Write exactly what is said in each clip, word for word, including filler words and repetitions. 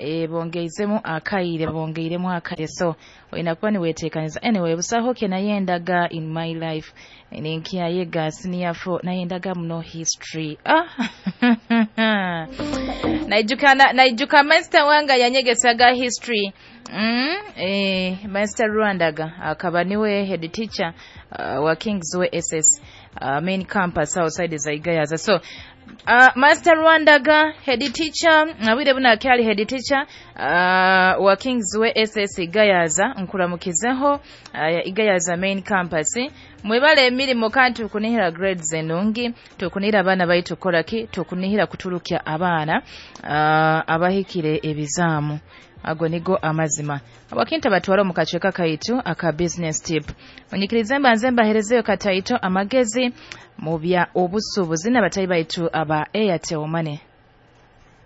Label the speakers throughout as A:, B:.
A: E, bongeizemu akaire, bongeiremu akaire, so olina kuba niweteekaniza. Anyway, busaho ke nayendaga in my life ninkyayega senior four, nayendaga muno history. Ah, naijuka na- naijuka master wanga yanyegesaga history. Mm, eh, Master Rwandaga akaba niwe head teacher uh, wa Kingsway S S uh, main campus outside za Igayaza. So uh, Master Rwandaga, head teacher, abwire buna akyali head teacher uh, wa Kingsway S S Igayaza, nkuramukizeho uh, Igayaza main campus. Mwebale emirimu kandi tukunihira grades enungi, tukunihira abaana baitu kukoraki, tukunihira kuturukya abaana uh, abahikire ebizaamu. Ago nigo amazima. Abakinta batwara omu kacweka kaitu aka business tip. Onyikirize mbanze mbaherezeyo kataito amagezi mu bya obusuubuzi n'abatayi baitu aba Airtel Money.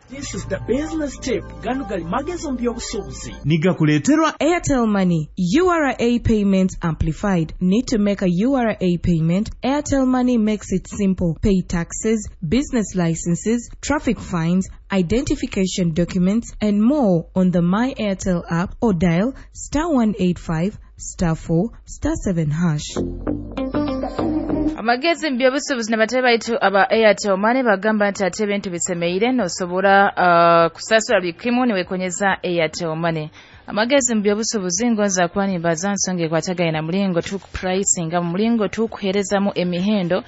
B: This is the business tip. Gano gali magezi mu by'obusuubuzi.
C: Nigakuleeterwa
D: Airtel Money, U R A payments amplified. Need to make a U R A payment? Airtel Money makes it simple. Pay taxes, business licenses, traffic fines, identification documents, and more on the My Airtel app or dial star one eight five star four star seven hash.
A: Amagezi mu byobusuubuzi n'abatayi baitu aba Airtel Money bagamba nti ate ebintu bisemeire, nosobora uh, kusasula buli kimu niwekonyeza Airtel Money. Amagezi mu byobusuubuzi ngonza kuba nimbaza nsonga ekwatagaine na mulingo tukupricinga, mu mulingo tukuheerezamu emihendo.